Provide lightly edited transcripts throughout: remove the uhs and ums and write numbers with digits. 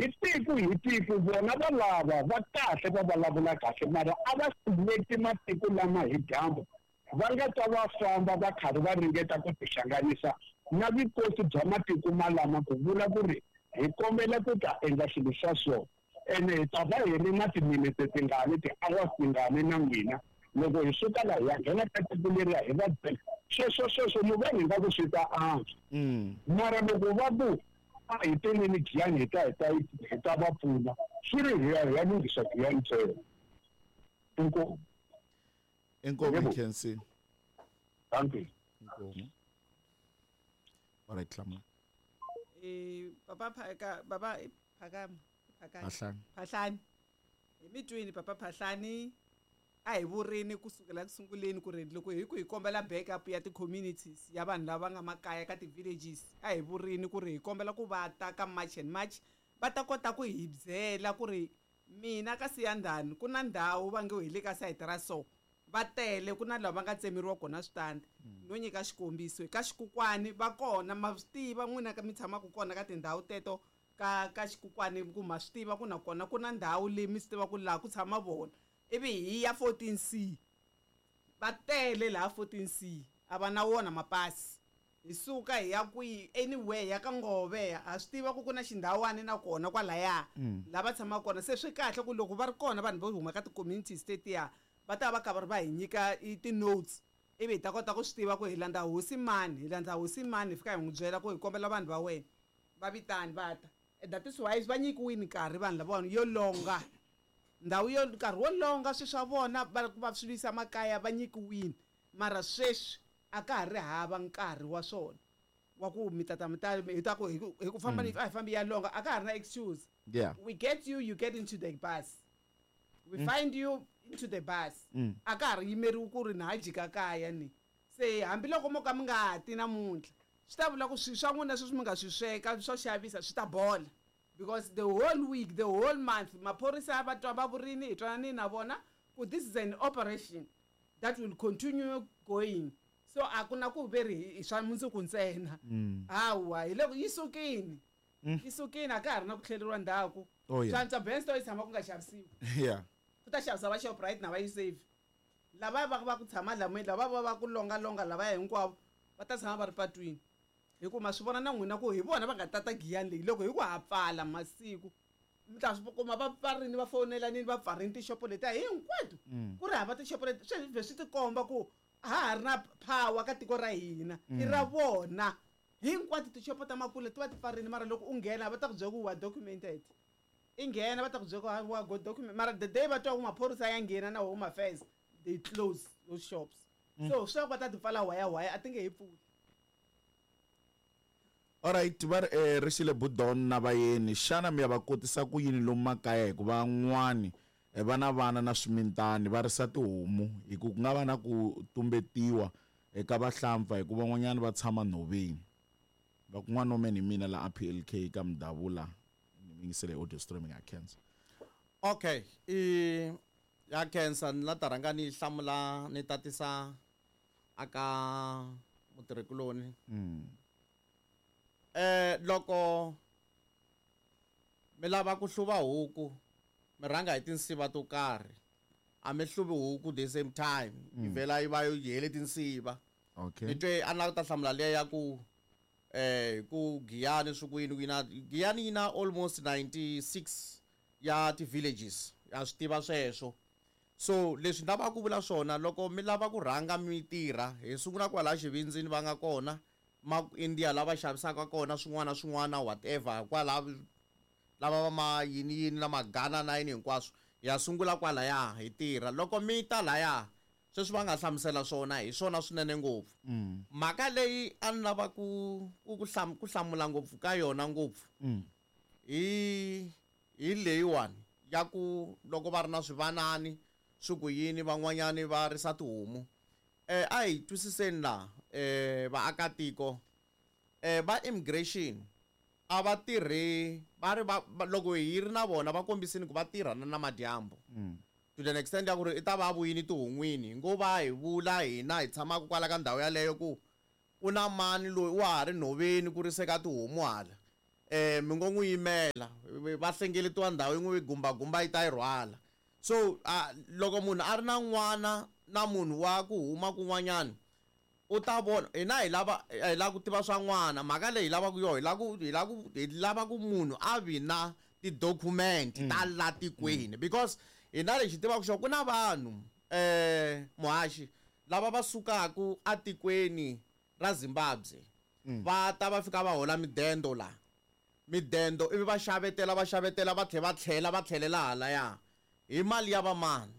Hi tiko hi tiko vona va lava va kahle va vulavula kahle mara a va sileti matiko lama hi dyambu va nga ta va famba va karhi va ringeta ku tihlanganisa na vukosi bya matiko malama ku vula ku ri hi kombela ku ta endla swilo swa so ene hi ta va hi ri na timinete tingani ti-hours tingani na n'wina loko hi suka laha hi ya nghena ka tiko leriya hi va byela sweswo sweswo ni vona ingaku swi ta antswa. Mara loko va ku a hi teleni Giyani hi ta hi ta hi ta va pfuna swi ri hi ya hi ya lunghisa Giyani ntsena. Inkomu. Inkomu. Yebo. Nkhensi. Dankie. Inkomu. Alright, hlamula. Papa Phaka, baba Phakama, Phakani. Phahlani. Phahlani. Hi mi twini papa Phahlani a hi vurini kusukela ku sunguleni ku ri loko hi ku hi kombela backup ya ti-communities ya vanhu lava nga makaya ka ti-villages a hi vurini ku ri hi kombela ku va ta ka March and March va ta kota ku hi byela ku ri mina ka Siyandhani ku na ndhawu va nge hi le ka sayiti ra so va tele ku na lava va nga tsemeriwa kona switandi. No nyika xikombiso ka Xikukwani va kona ma swi tiva n'wina ka mi tshamaka kona ka tindhawu teto ka ka Xikukwani ku ma swi tiva ku na kona ku na ndhawu leyi mi swi tiva ku laha ku tshama vona ivi hi ya 14C va tele laha 14C a va na wona mapasi hi suka hi ya kwihi anywhere ya ka Ngove ha swi tiva ku ku na xindhawani na kona kwalaya lava tshamaka kona se swi kahle ku loko va ri kona vanhu vo huma ka ti-communities tetiya va ta va ka va ri va hi nyika i ti-notes ivi hi ta kota ku swi tiva ku hi landza hosi mani hi landza hosi mani hi fika hi n'wi byela ku hi kombela vanhu va wena va vitani va ta. That is why va nyikiwini nkarhi vanhu lavawani yo longa ndhawu yo nkarhi wo longa swi swa vona va va swi vuyisa makaya va nyikiwini mara sweswi a ka ha ri hava nkarhi wa swona wa ku mi tata mi ta hi ta ku hi ku hi ku famba a hi fambi ya longa a ka ha ri na excuse. We get you, you get into the bus. We find you into the bus. A ka ha ri yimeriwi ku ri na ha jika kaya ni. Se hambiloko mo ka mi nga ti namuntlha swi ta vula ku swilo swa n'wina sweswi mi nga swi sweka swo xavisa swi ta bola because the whole week, the whole month maphorisa va twa va vurini hi twananini na vona ku this is an operation that will continue going so a ku na ku ve ri hi swa mundzuku ntsena hawa hi loko yi sukini yi sukini a ka ha ri na ku tlheleriwa ndzhaku. Oh, yeah. Swa antswa Bensto yi tshama ku nga xavisiwi ku ta xavisa va Shoprite na va Usave lava va va ku tshama lamweni lava va va ku longa longa lavaya hinkwavo va ta tshama va ri patwini hi ku ma swi vona na n'wina ku hi vona va nga tata Giyani leyi loko hi ku ha pfala masiku mi ta swi kuma va pfarini va fonelanini va pfarini tixopo letiya hinkwato ku ri hava tixopo leti swi vhe swi tikomba ku a ha ha ri na power ka tiko ra hina i ra vona hinkwato tixopo ta makule ti va ti pfarini mara loko u nghena va ta ku byela ku wa documented i nghena va ta ku byela ku wa go document mara the day va twa ku maphorisa ya nghena na Home Affairs they close those shops. So swi va ta ti pfala waya waya a ti nge he pfuli. Alright, va ri ri xile Budon na vayeni xana mi ya va kotisa ku yini lomu makaya hikuva van'wani va na vana na swimitani va risa tihomu hi ku ku nga va na ku tumbetiwa eka vahlampfa hikuva van'wanyana va tshama nhoveni va ku n'wana wa mina hi mina la a PLK ka Mudavula ni mi yingisele hi audio streaming ya khensa. Okay, i ya khensa ni la ta rhanga ni hlamula ni tatisa aka mutirhikuloni. Loko mi lava ku hluva huku mi rhanga hi tinsiva to karhi a mi hluvi huku the same time yi vhela yi va yi hele tinsiva. Ni twe a ni lava ku ta hlamula liya ya ku ku Giyani swi ku yini ku yina Giyani yi na almost 96 ya ti-villages ya swi tiva sweswo. So leswi ni lavaka ku vula swona loko mi lava ku rhanga mi tirha hi sungula kwalaya xivindzini va nga kona ma India lava xavisaka kona swin'wana na swin'wana whatever kwala lava va ma yini yini na magana na yini hinkwaswo ya sungula kwalaya hi tirha loko mi ta laya sweswi va nga hlamusela swona hi swona swinene ngopfu. Mhaka leyi a ni lava ku ku ku ku hlamula ngopfu ka yona ngopfu hi hi leyiwani ya ku loko va ri na swivanani swi ku yini van'wanyani va risa tihomu. A hi twisiseni laha vaakatiko va immigration a va tirhi va ri va loko hi ri na vona va kombisini ku va tirha na namadyambu. To the extent ya ku ri i ta va a vuyini tihon'wini hi ngo va hi vula hina hi tshamaka kwala ka ndhawu yaleyo ku ku na mani loyi wa ha ri nhoveni ku riseka tihomu hala. Mi ngo n'wi yimela, va hlengeletiwa ndhawu yin'we gumbagumba yi ta yi rhwala. So loko munhu a ri na n'wana na munhu wa ku huma kun'wanyana, u ta vona hina hi lava hi lava ku tiva swa n'wana. Mhaka leyi hi lavaka yo, hi lava ku munhu a vi na ti-document ta la tikweni, because hina lexi tivaka xona ku na vanhu muhaxi lava va sukaku atikweni ra Zimbabwe, va ta va fika va hola midendo la, midendo ivi va xavetela, va xavetela, va tlhela va tlhela va tlhelela halaya hi mali ya vamani,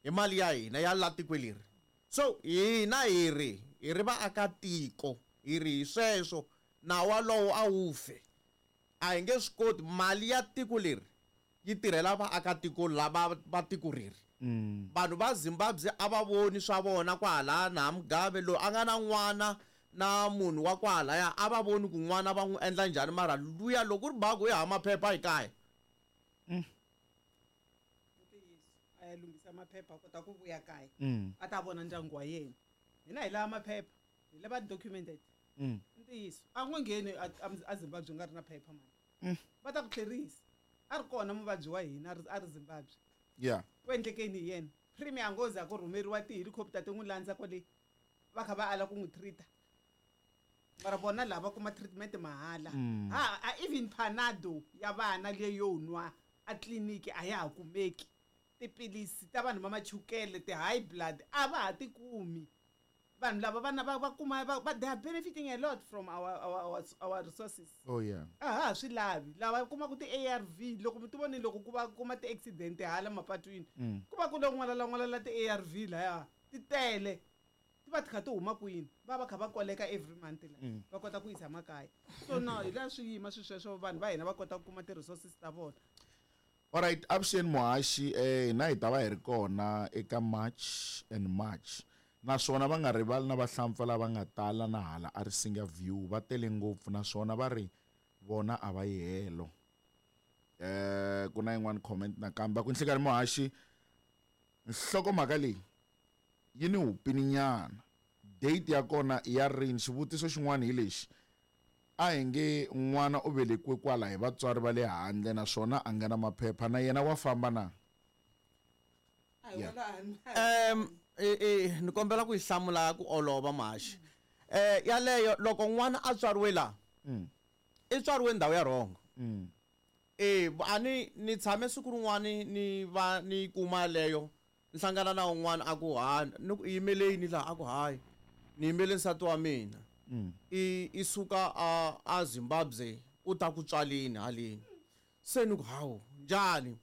hi mali ya hina ya la tikweni leri. So hina hi ri vaakatiko, hi ri hi sweswo nawu walowo a wu fe, a hi nge swi koti. Mali ya tiko leri yi tirhela vaakatiko lava va tiko reri. Vanhu va Zimbabwe a va voni swa vona kwahala na Mugabe loyi a nga na n'wana na munhu wa kwahalaya, a va voni ku n'wana va n'wi endla njhani, mara luya loko ku ri baku i hava maphepha hi kaya. Ntiyiso, a ya lunghisa maphepha a kota ku vuya kaya, a ta vona ndyangu wa yena. Hina hi lava maphepha, hi lava documented. Ntiyiso, a n'wi ngheni a Zimbabwe nga ri na phepha mani, va ta ku tlherisa. A ri kona muvabyi wa hina a ri Zimbabwe. Ku endlekeni hi yena? Premier ngozi a ku rhumeriwa ti-helicopter ti n'wi landza kwale, va kha va ala ku n'wi treat-a, mara vona lava kuma treatment mahala. Ha a even Panado ya vana leyo nwa a tliliniki a ya ha kumeki, tiphilisi ta vanhu va machukele, ti-high blood, a va ha ti kumi. Vanhu lava vana va kuma va they are benefiting a lot from our resources. Oh yeah. A ha swi lavi lava kumaka ti-ARV. Loko mi ti voni loko ku va kuma ti-accident hala mapatwini, ku va ku lo n'walala n'walala ti-ARV laya ti tele, ti va ti kha ti huma kwini, va va kha va koleka every month la, va kota ku yisa makaya. So no, hi laha swi yima swi sweswo, vanhu va hina va kota ku kuma ti-resources ta vona. Alright, avuxeni muhaxi, hina hi ta va hi ri kona eka March and March, naswona va nga rivali na vahlampfa lava nga tala na hala a Risinga View, va tele ngopfu naswona va ri vona a va yi helo. Ku na yin'wana comment nakambe, va ku nhlikani muhaxi, nhlokomhaka leyi yi ni hupininyana, date ya kona ya rini? Xivutiso xin'wana hi lexi, a hi nge n'wana u velekiwe kwala hi vatswari va le handle naswona a nga na maphepha, na yena wa famba na? A hi wona. Ni kombela ku yi hlamula ku olova muhaxi. Yaleyo loko n'wana a tswariwe la, i tswariwe ndhawu ya wrong. A ni ni tshame siku rin'wani ni va ni kuma leyo, ni hlangana na un'wana a ku ha ni ku yimeleni laha, a ku hayi, ni yimele nsati wa mina, i suka a Zimbabwe u ta ku tswaleni haleni. Se ni ku hawu, njhani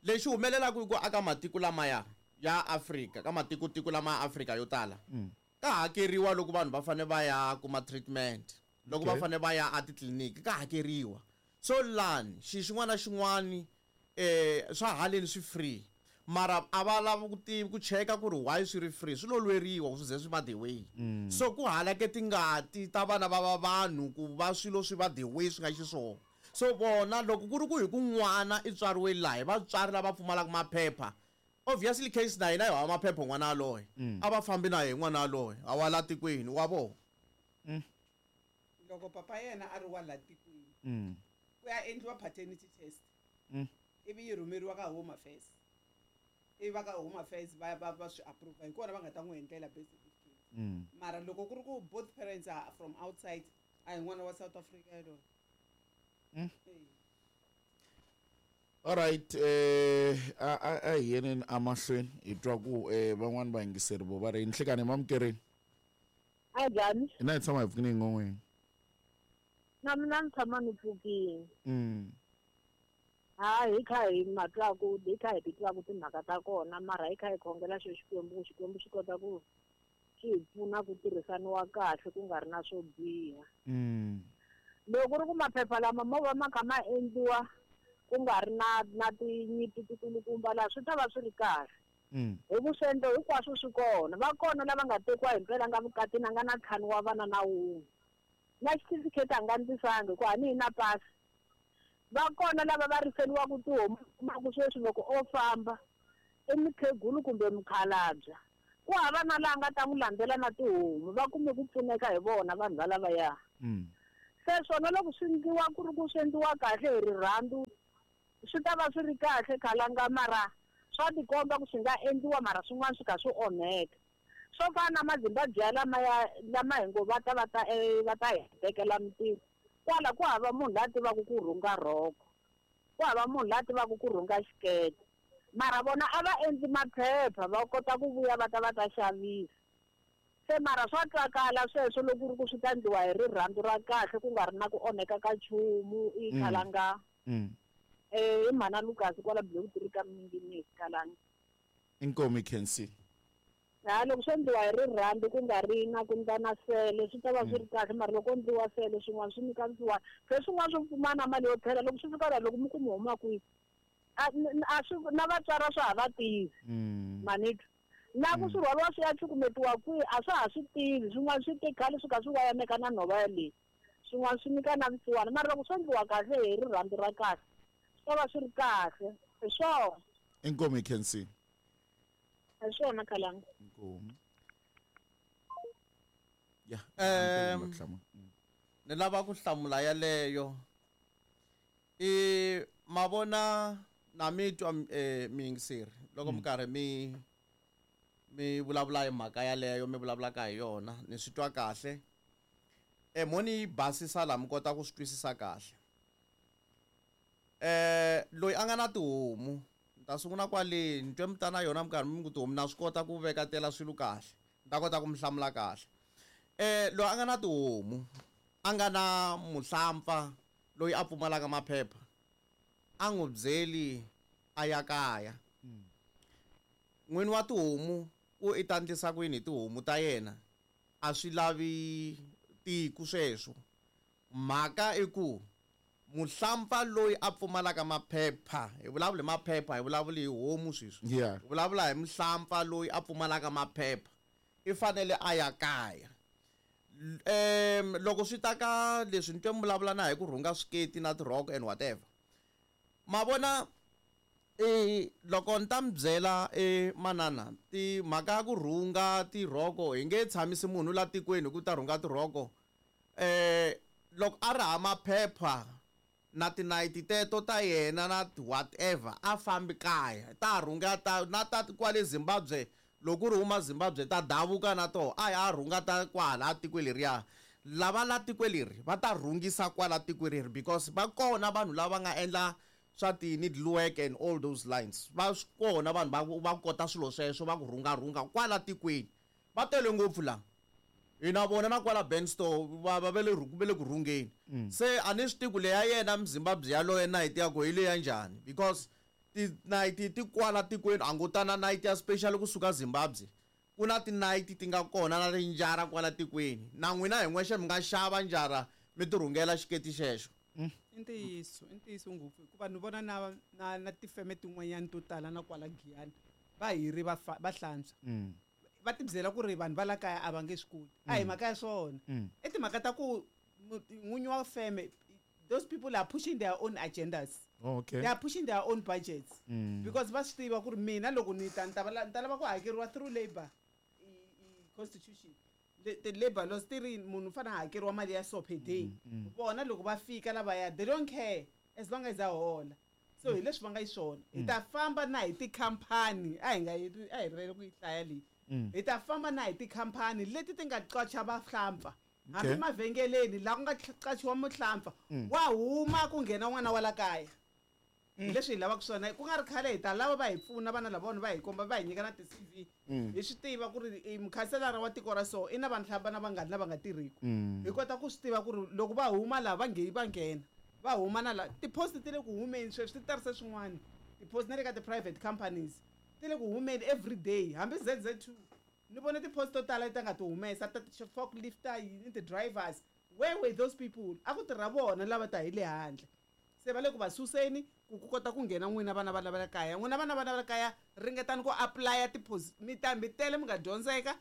lexi humelelaka i ku aka matiko lamaya ya Afrika, ka matiko tiko lama ya Afrika yo tala, ka hakeriwa loko vanhu va fanele va ya kuma treatment, loko va fanele va ya atitliliniki ka hakeriwa. So lani xi xin'wana na xin'wani swa haleni swi free, mara a va lavi ku tivi ku cheka ku ri why swi ri free, swi lo lweriwa ku swi ze swi va the way. So ku halake tingati ta vana va vanhu ku va swilo swi va the way swi nga xiswona. So vona loko ku ri ku hi ku n'wana i tswariwe laha hi vatswari lava pfumalaka maphepha, obviously case na hina hi hava maphepha, n'wana yaloye a va fambi na yehe, n'wana yaloye a wa la tikweni wa vona. Loko papa yena a ri wa la tikweni, ku ya endliwa paternity test, ivi yi rhumeriwa ka Home Affairs, ivi va ka Home Affairs va swi approve, hi kona va nga ta n'wi endlela birth certificate. Mara loko ku ri ku both parents are from outside, a hi n'wana wa South Africa yaloye. Alright, a hi yeneni amahlweni hi twa ku van'wani vayingiseri vo va ri nhlikani mamukereni. A njhani? Hina hi tshama hi pfukini hi ngon'weni. Na mina ni tshama ni pfukini. Ha hi kha hi matwaku, hi kha hi titwaku timhaka ta kona, mara hi kha hi khongela xo Xikwembu ku Xikwembu xi kota ku xi hi pfuna ku tirhisaniwa kahle, ku nga ri na swo biha. Loko ku ri ku maphepha lama mo va ma kha ma endliwa ku nga ri na tinyimpi tikulukumba laha, swi ta va swi ri kahle. Hi ku swiendlo hinkwaswo swi kona, va kona lava nga tekiwa hi mpela nga vukatini, a nga na ntlhanu wa vana na wun'we, na xitifiketi a nga ndlisangi ku a ni hi na pasi. Va kona lava va riseliwaku tihomu, kumaku sweswi loko o famba i mukhegulu kumbe mukhalabya, ku hava na laha nga ta n'wi landzela na tihomu, va kume ku pfuneka hi vona vanhu valavaya. Se swona loko swi endliwa ku ri ku swi endliwa kahle hi rirhandzu swi ta va swi ri kahle Khalanga, mara swa tikomba ku swi nga endliwa mara swin'wana swi kha swi onheka. Swo fana na Mazimbabwe lamaya lama hi ngo va ta va ta va ta hi tekela mintirho. Kwala ku hava munhu la tivaka ku rhunga rhoko, ku hava munhu la tivaka ku rhunga xikete, mara vona a va endli maphepha va kota ku vuya va ta va ta xavisa. Se mara swa twakala sweswo loko ku ri ku swi ta endliwa hi rirhandzu ra kahle ku nga ri na ku onheka ka nchumu i Khalanga. I mhana Lucas kwala Block 3 ka Minginisi Khalanga. Inkomu Khensi. Ha loko swi endliwa hi rirhandzu ku nga ri na ku ndla na sele swi ta va swi ri kahle, mara loko endliwa sele swin'wana swi nyika vusiwana. Se swin'wana swo pfumana mali yo tlhela loko swi fika laha loko mi ku mi huma kwihi a swi na vatswari swa ha va tivi manitwa na ku swi rhwariwa swi ya cukumetiwa kwihi a swa ha swi tivi. Swin'wana swi te khale swi kha swi wayameka na nhova yaleyi, swin'wana swi nyika na vusiwana, mara loko swi endliwa kahle hi rirhandzu ra kahle swi ta va swi ri kahle. Hi swona. Inkomu Khensi. Hi swona Khalanga. Inkomu. Ya. Ni lava ku hlamula yaleyo. I mavona na mi twa miyingiseri loko mi karhi mi vulavula hi mhaka yaleyo mi vulavulaka hi yona, ni swi twa kahle. Mo ni basisa laha mi kota ku swi twisisa kahle. Loyi a nga na tihomu, ni ta sungula kwale ni twe mi ta na yona mi karhi mi ku tihomu na swi kota ku vekatela swilo kahle, ni ta kota ku mi hlamula kahle. Loyi a nga na tihomu a nga na muhlampfa loyi a pfumalaka maphepha a n'wi byeli a ya kaya. N'wini wa tihomu ku i ta endlisa ku yini hi tihomu ta yena a swi lavi tiku sweswo. Mhaka i ku muhlampfa loyi a pfumalaka maphepha, hi vulavula hi maphepha, hi vulavula hi homu sweswi. Hi vulavula hi muhlampfa loyi a pfumalaka maphepha i fanele a ya kaya. Loko swi ta ka leswi ni twe mi vulavula na hi ku rhunga swiketi na tirhoko and whatever, ma vona loko ni ta mi byela manana timhaka ya ku rhunga tirhoko hi nge tshamisi munhu la tikweni hi ku ta rhunga tirhoko. Loko a ri ha maphepha na tinayiti teto ta yena na whatever a fambi kaya ta rhunga ta na ta kwale Zimbabwe, loko ri huma Zimbabwe ta davuka na toho a ya rhunga ta kwala tikweni leriya. Lava la tikweni leri va ta rhungisa kwala tikweni leri because va kona vanhu lava nga endla swa ti-needlework and all those lines, va swi kona vanhu va kota swilo sweswo va ku rhungarhunga kwala tikweni, va tele ngopfu la hina vona na kwala Benstore va va le va le ku rhungeni. Se a ni swi tivi ku leya yena Muzimbabwe yaloye nayiti ya ku hi leya njhani, because tinayiti ti kwala tikweni a ngo ta na nayiti ya special kusuka Zimbabwe. Ku na tinayiti ti nga kona na tinjara kwala tikweni, na n'wina hi n'wexe mi nga xava njara mi ti rhungela xiketi xexo. I ntiyiso, i ntiyiso ngopfu, hikuva ni vona na tifeme tin'wanyana to tala na kwala Giyani va hiri va hlantswa. Va ti byela ku ri vanhu va la kaya a va nge swi koti. A hi mhaka ya swona. I timhaka ta ku n'winyi wa feme, those people are pushing their own agendas. They are pushing their own budgets. Because va swi tiva ku ri mina loko ni ta ni ta ni ta lava ku hakeriwa through labor constitution. The labor laws ti ri munhu u fanele a hakeriwa mali ya so per day. Vona loko va fika lavaya they don't care as long as a hola. So hi leswi va nga xiswona. Hi ta famba na hi tikhampani, a hi nga yi a hi rivele ku yi hlaya leyi. Hi ta famba na hi tikhampani leti ti nga qacha vahlampfa. Hambi mavhengeleni laha ku nga qachiwa muhlampfa, wa huma ku nghena n'wana wa la kaya. Hi leswi hi lavaka swona, ku nga ri khale hi ta lava va hi pfuna vana lavawani va hi komba va hi nyika na ti-CV. Hi swi tiva ku ri mukhanselara wa tiko ra so i na vanhu vana vangani lava nga tirhiki. Hi kota ku swi tiva ku ri loko va huma laha va nge va nghena, va huma na laha ti-post ti le ku humeni sweswi ti tarise swin'wana. Ti-post na le ka ti-private companies ti le ku humeni every day, hambi ZZ2 ni vone ti-post to tala leti nga ti humesa ta forklifter yini ti-drivers. Where were those people? A ku tirha vona lava ta hi le handle. Se va le ku va suseni ku ku kota ku nghena n'wina vana va lava le kaya. N'wina vana va le kaya ringetani ku apply-a mi ta mi tele mi nga dyondzeka,